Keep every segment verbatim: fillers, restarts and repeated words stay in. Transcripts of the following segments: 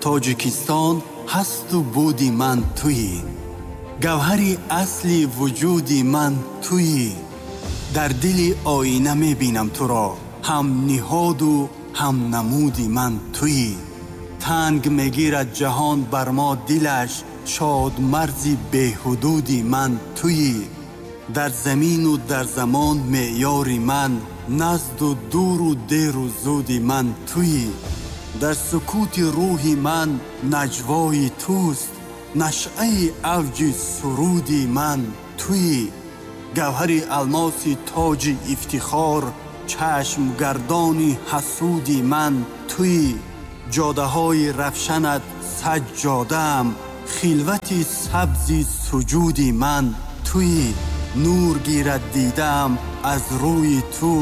Тоҷикистон ҳасту буди ман туӣ, гавҳари асли вуҷуди ман туӣ. Дар дили оина мебинам туро, ҳам ниҳоду ҳам намуди ман туӣ. Танг мегирад ҷаҳон бар мо дилаш, шод марзи беҳудуди ман туӣ. Дар замину дар замон меъёри ман, назду дуру деру зуди ман туӣ. Дар сукути рӯҳи ман наҷвои туст, нашъаи авҷи суруди ман туӣ. Гавҳари алмоси тоҷи ифтихор, чашмгардони ҳасуди ман туӣ. Ҷодаҳои равшанат саҷҷодаам, хилвати сабзи суҷуди ман туӣ. Нур гирад дидаам аз рӯи ту,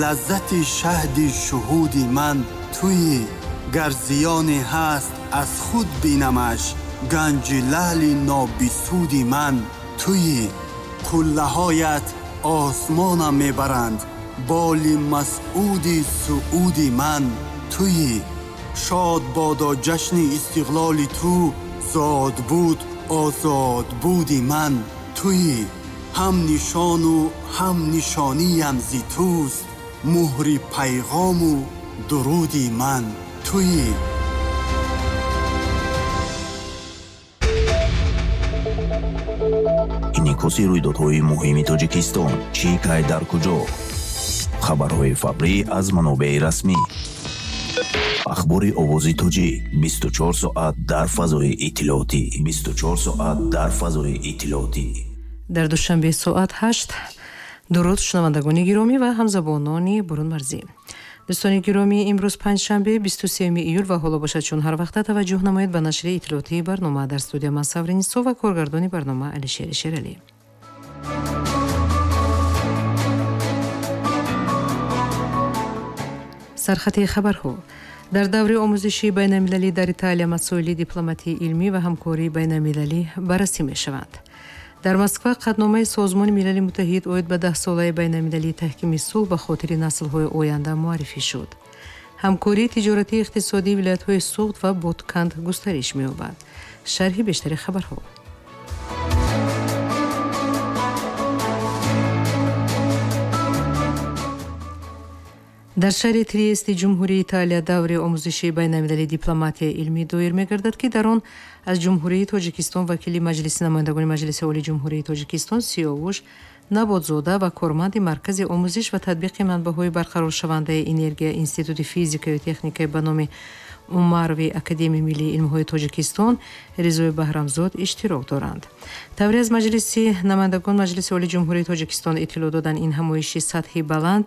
лаззати шаҳди шуҳуди ман туӣ. Гар зиёне ҳаст аз худ бинамаш, ганҷи лаъли нобисуди ман туӣ. Қуллаҳоят осмонам мебаранд, боли масъуди сууди ман туӣ. Шод бодо ҷашни истиқлоли ту, зод буд озод буди ман туӣ. Ҳам нишону ҳам нишониям зи туст, муҳри пайғому дуруди ман туӣ. Инъикоси рӯйдодҳои муҳими Тоҷикистон чӣ, кай, дар куҷо? Хабарҳои фаврӣ аз манобеи расмӣ. Ахбори овози тоҷик бисту чор соат дар фазои иттилоотӣ. бисту чор соат дар фазои иттилоотӣ. Дар душанбе соат ҳашт. Дуруд шунавандагони гиромӣ ва ҳамзабонони бурунмарзӣ. Дӯстони гиромӣ, имрӯз панҷшанбе бисту сеюми июл ва ҳоло бошад чун ҳар вақта таваҷҷӯҳ намоед ба нашри иттилоотии барнома. Дар студия ман Саври Нисо ва коргардони барнома Алишери Шералӣ. Сархати хабарҳо. Дар даври омӯзиши байналмилалӣ дар Италия масоили дипломатии илмӣ ва ҳамкории байналмилалӣ баррасӣ мешаванд. Дар Москва қатъномаи Созмони Милали Муттаҳид оид ба даҳсолаи байналмилалии таҳкими сулҳ ба хотири наслҳои оянда муаррифӣ шуд. Ҳамкории тиҷоратии иқтисодии вилоятҳои Суғд ва Ботканд густариш меёбад. Шарҳи бештари хабарҳо. Дар шаҳри Триести Ҷумҳурии Италия даври омӯзиши байналмилалии дипломатияи илмӣ доир мегардад, ки дар он аз Ҷумҳурии Тоҷикистон вакили Маҷлиси намояндагони Маҷлиси Олии Ҷумҳурии Тоҷикистон Сиёвуш Набодзода ва корманди Маркази омӯзиш ва татбиқи манбаъҳои барқароршавандаи энергия Институти физикаю техникаи ба номи Умарови Академияи миллии илмҳои Тоҷикистон Ризои Баҳрамзод иштирок доранд. Тавре аз Маҷлиси намояндагон Маҷлиси Олии Ҷумҳурии Тоҷикистон иттилоъ доданд, ин ҳамоиши сатҳи баланд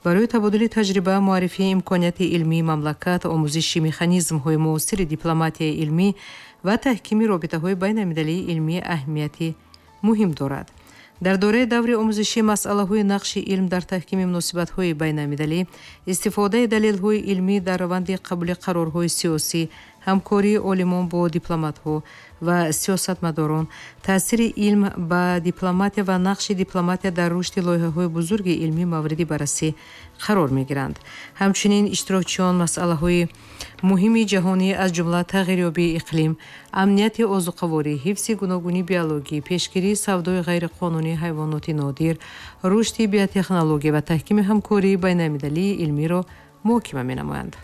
барои табодули таҷриба, муаррифии имконияти илмии мамлакат, омӯзиши механизмҳои муосири дипломатияи илмӣ ва таҳкими робитаҳои байналмилалии илмӣ аҳамияти муҳим дорад. Дар доираи даври омӯзишӣ масъалаҳои нақши илм дар таҳкими муносибатҳои байналмилалӣ, истифодаи далелҳои илмӣ дар раванди қабули қарорҳои сиёсӣ, ҳамкории олимон бо дипломатҳо ва сиёсатмадорон, таъсири илм ба дипломатия ва нақши дипломатия дар рушди лоиҳаҳои бузурги илмӣ мавриди баррасӣ қарор мегиранд. Ҳамчунин иштирокчиён масъалаҳои муҳими ҷаҳонӣ аз ҷумла тағйирёбии иқлим, амнияти озуқаворӣ, ҳифзи гуногунии биологӣ, пешгирии савдои ғайриқонунии ҳайвоноти нодир, рушди биотехнология ва таҳкими ҳамкории байналмилалии илмиро муҳокима менамоянд.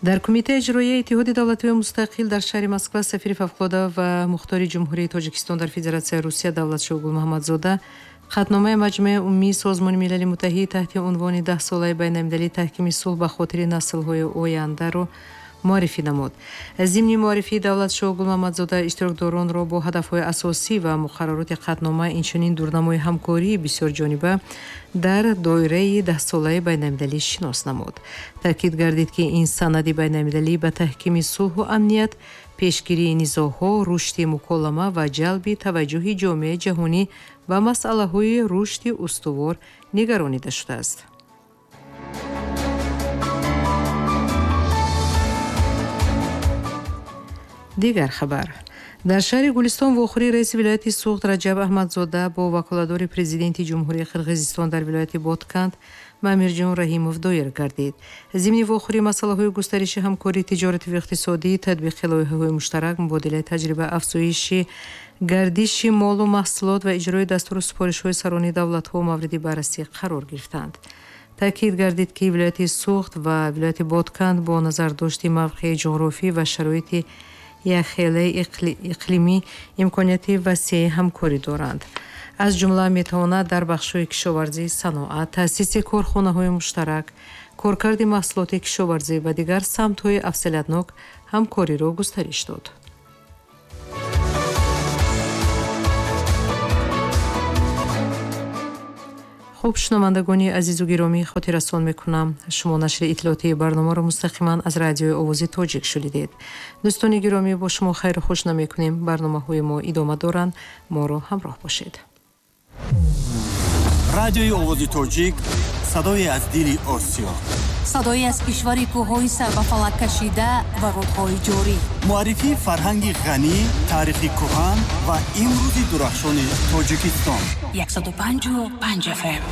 Дар Кумитаи иҷроияи Иттиҳоди давлатҳои мустақил дар шаҳри Москва сафири фавқулода ва мухтори Ҷумҳурии Тоҷикистон дар Федератсияи Русия Давлатшоҳ Гулмуҳаммадзода қатъномаи Маҷмӯаи умумии Созмони Милали Муттаҳид таҳти унвони даҳсолаи байналмилалии таҳкими сулҳ ба хотири наслҳои ояндаро муаррифӣ намуд. Зимни муаррифии Давлатшоҳ Гулмуҳаммадзода иштирокдоронро бо ҳадафҳои асосӣ ва муқаррароти қатънома, инчунин дурнамои ҳамкории бисёрҷониба дар доираи даҳсолаи байналмилалӣ шинос намуд. Таъкид гардид, ки ин санади байналмилалӣ ба таҳкими сулҳу амният, пешгирии низоъҳо, рушди муколама ва ҷалби таваҷҷӯҳи ҷомеаи ҷаҳонӣ ба масъалаҳои рушди устувор нигаронида шудааст. Дигар хабар. Дар шаҳри Гулистон вохӯрии раиси вилояти Суғд Раҷаб Аҳмадзода бо ваколатдори президенти Ҷумҳурии Қирғизистон дар вилояти Ботканд Мамирҷон Раҳимов доир гардид. Зимни вохӯрӣ масъалаҳои густариши ҳамкории тиҷоративу иқтисодӣ, татбиқи лоиҳаҳои муштарак, мубодилаи таҷриба, афзоиши гардиши молу маҳсулот ва иҷрои дастуру супоришҳои сарони давлатҳо мавриди баррасӣ қарор гирифтанд. Таъкид гардид, ки вилояти Суғд ва вилояти Ботканд бо назардошти мавқеи ҷуғрофӣ ва шароити якхелаи иқлимӣ имконияти васеи ҳамкорӣ доранд. Аз ҷумла метавонад дар бахшҳои кишоварзӣ, саноат, таъсиси корхонаҳои муштарак, коркарди маҳсулоти кишоварзӣ ва дигар самтҳои афзалиятнок ҳамкориро густариш дод. Хуб, шунавандагони азизу гиромӣ, хотиррасон мекунам, шумо нашри иттилоотии барномаро мустақиман аз радиои Овози Тоҷик шунидед. Дӯстони гиромӣ, бо шумо хайру хуш намекунем. Барномаҳои мо идома доранд, моро ҳамроҳ бошед. Радиои Овози Тоҷик, садое аз дили Осиё, садое аз кишвари кӯҳҳои сарбафалак кашида ва рудҳои ҷорӣ, муаррифии фарҳанги ғанӣ, таърихи кӯҳан ва имрӯзи дурахшони Тоҷикистон. яксаду панҷу панҷ F M.